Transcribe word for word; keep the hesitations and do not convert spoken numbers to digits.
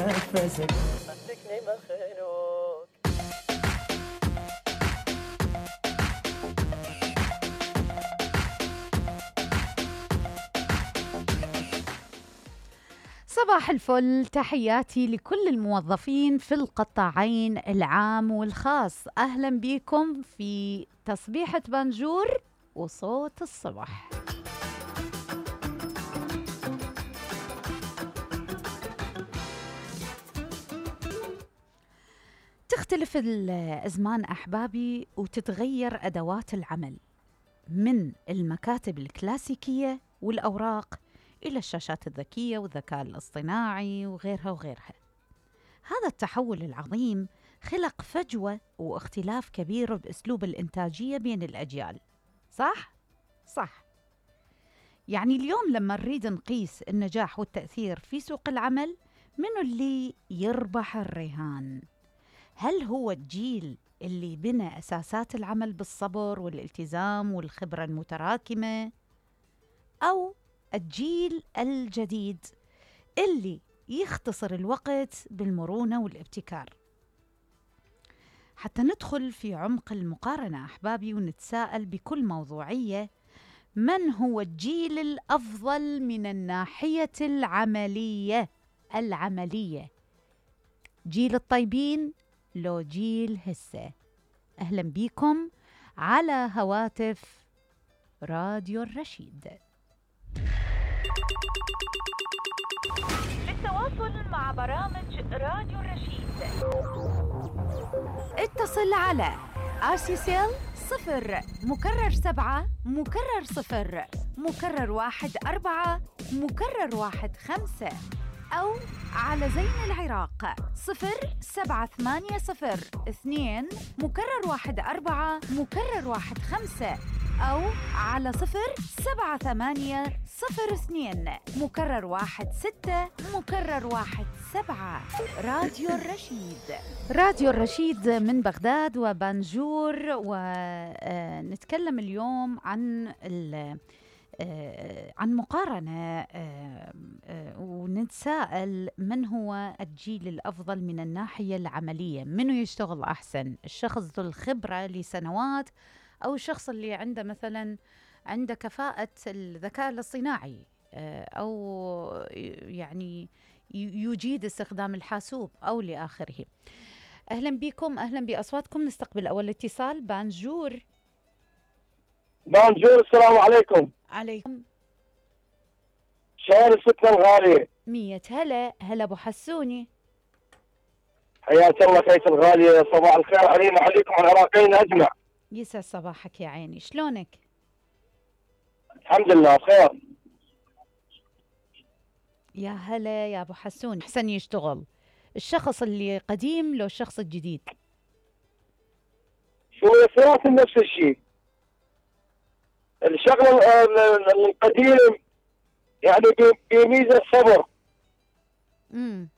نفسك مسكني مخنوق. صباح الفل، تحياتي لكل الموظفين في القطاعين العام والخاص. أهلا بكم في تصبيحة بانجور وصوت الصبح. تختلف الأزمان أحبابي وتتغير أدوات العمل من المكاتب الكلاسيكية والأوراق إلى الشاشات الذكية والذكاء الاصطناعي وغيرها وغيرها. هذا التحول العظيم خلق فجوة واختلاف كبير بأسلوب الإنتاجية بين الأجيال. صح؟ صح. يعني اليوم لما نريد نقيس النجاح والتأثير في سوق العمل، منو اللي يربح الرهان؟ هل هو الجيل اللي بنى أساسات العمل بالصبر والالتزام والخبرة المتراكمة، أو الجيل الجديد اللي يختصر الوقت بالمرونة والابتكار؟ حتى ندخل في عمق المقارنة أحبابي ونتساءل بكل موضوعية، من هو الجيل الأفضل من الناحية العملية العملية؟ جيل الطيبين لو جيل هسه؟ أهلا بكم على هواتف راديو الرشيد. للتواصل مع برامج راديو الرشيد اتصل على آرسيسيل صفر مكرر سبعة مكرر صفر مكرر واحد أربعة مكرر واحد خمسة، أو على زين العراق صفر سبعة ثمانية صفر اثنين مكرر واحد أربعة مكرر واحد خمسة، أو على صفر سبعة ثمانية صفر اثنين مكرر واحد ستة مكرر واحد سبعة. راديو الرشيد، راديو الرشيد من بغداد وبانجور. ونتكلم اليوم عن عن مقارنة ونتساءل من هو الجيل الأفضل من الناحية العملية؟ منو يشتغل أحسن؟ الشخص ذو الخبرة لسنوات أو الشخص اللي عنده مثلا عنده كفاءة الذكاء الاصطناعي، أو يعني يجيد استخدام الحاسوب أو لآخره؟ أهلا بكم، أهلا بأصواتكم. نستقبل أول اتصال. بانجور. بانجور، السلام عليكم. عليكم. شلون ستنا الغالية؟ مية هلا. هلا أبو حسوني. حياك الله خيس الغالية، صباح الخير علينا عليكم العراقيين أجمع. يسعد صباحك يا عيني، شلونك؟ الحمد لله بخير. يا هلا يا أبو حسون. أحسن يشتغل الشخص اللي قديم لو الشخص الجديد؟ شو ثلاثة نفس الشيء. الشغل القديم يعني بميزة الصبر. امم